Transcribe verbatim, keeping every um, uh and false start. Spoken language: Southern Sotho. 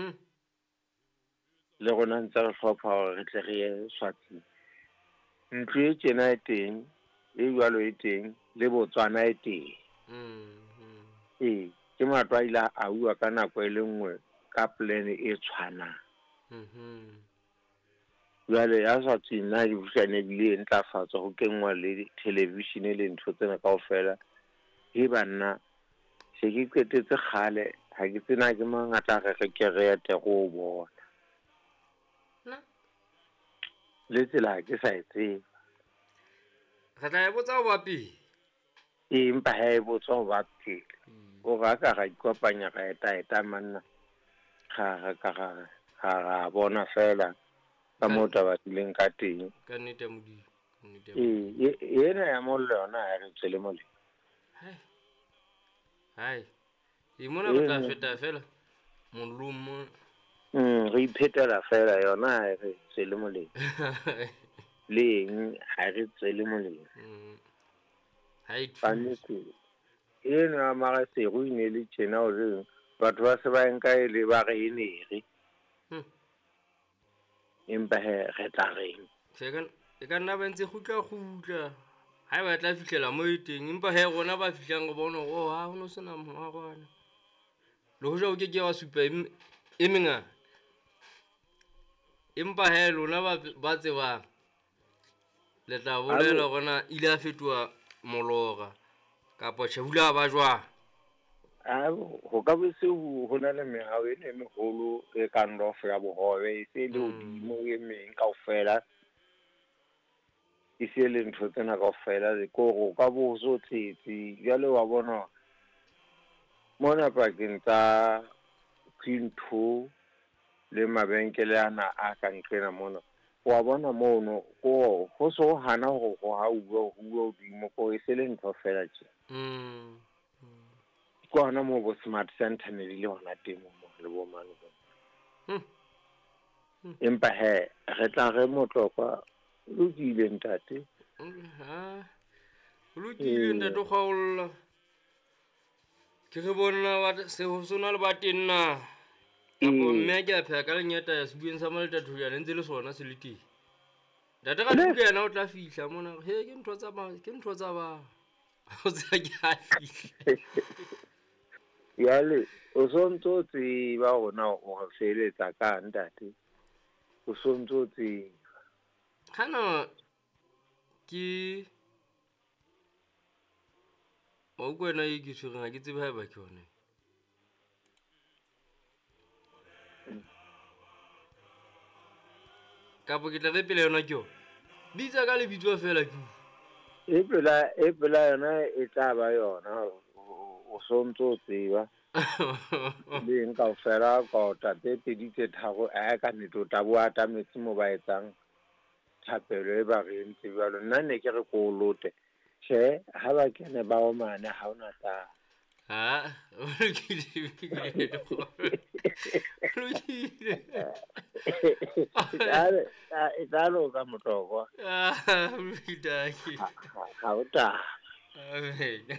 Hmm. Le rona ntse re hlopha hore re tle re ye Swatsing. Ntlo e tjena e teng, e jwalo e teng, le Botswana e teng. Mm, mm. Ee, ke matlo a ile a auwa ka nako e le nngwe ka plan e tshwanang. Mhm. Jwale ya Swatsing nna ke buhlane ebile e ntlafatswa ho kenngwa le television le ntho tsena kaofela. He banna, se ke qetetse kgale, ha ke tsena ke mang a tla re re ke re ete re o bona. Na? Le tsela ha ke sa e tseba. Re tla e botsa ho ba pele. Ee, empa ha e botswa ho ba pele. O re a ka ra ikopanya ra eta-eta manna. Ra ra ka ra ra ra bona feela ka moo taba di leng ka teng. Ka nnete ya Modimo, ka nnete ya Ee, Modimo. e, ena ya mollo yona ha re tswele molemo. Hai. Hai. E mona re tla Ena. feta fela mollong mona. Mm, re iphetela fela yona ha re tswele molemo. Le eng ha re tswele molemo. Mm. Ha e Ka thuse. nnete. Eno ya Maseru e ne le tjena hore batho ba se ba e nka e le ba re e nere. Hmm. Empa he re tla reng? Tjhe, e ka, e ka nna ba ntse kgutla kgutla. Ha eba tla fihlela moo e teng, empa he rona ba fihlang re bona hore, oh, ha ho no sena moarwana. Le hoja o ke ke wa supa e m-, e mengata. Empa he lona ba, ba tsebang, le tla bolela hore na ile a fetoha molora kapa tjhe, ho ile ha ba jwang? A, ho ka be se ho, ho na le mehaho ena e meholo e kang lofo ya bohobe, e se le Mm. hodimo e meng kaofela. E se le ntho tsena kaofela, ke hore o ka bo so tletse. Jwale wa bona mona pakeng tsa Queen two le mabenkele ana a ka nqena mona, wa bona mono, ko ho so hana hore ho hauwe, ho uwe hodimo, ko e se le ntho feela tje. Mm. Ke hona moo bo Smart Center ne di le hona teng moo le bo mane bo. Hmm. Hmm. Empa he, re tla re Motlokwa, o lokile ntate. Ha. O lokile Ee. ntate o kgaolla. Ke re bona ba se ho sona le ba teng na. Kapo Ee. mme a ke a pheha ka lenyata ya sebueng sa Maletathojana jana ntse le sona se le teng. Ntate Ratuka yena o tla fihla mona, he ke ntho tsa ba, ke ntho tsa ba. O tsa ke a fihla. Jwale o sontso o tseba hore na o re feletsa ka ntate. O sontso o tseba. Hana ke wa utlwa wena e ke tshwereng, ha ke tsebe haeba ke yona. Kapo ke tla re pele yona ke yona. Bitsa ka lebitso feela ke utlwe. E pela, e pela yona e tla ba yona, o sontso o tseba. Le eng kaofela ka o tla tse pedi tse tharo, eh, ka nnete o tla bo atametse moo ba etsang thapelo e ba re entse jwalo. Nna ne ke re ko o lote. Tjhe, ha ba kene ba omane ha hona taba. Ha, o lokile, o lokile. E tla loka Motlokwa. Ah, o lokile, Ha, ha, ha o taba. Amen.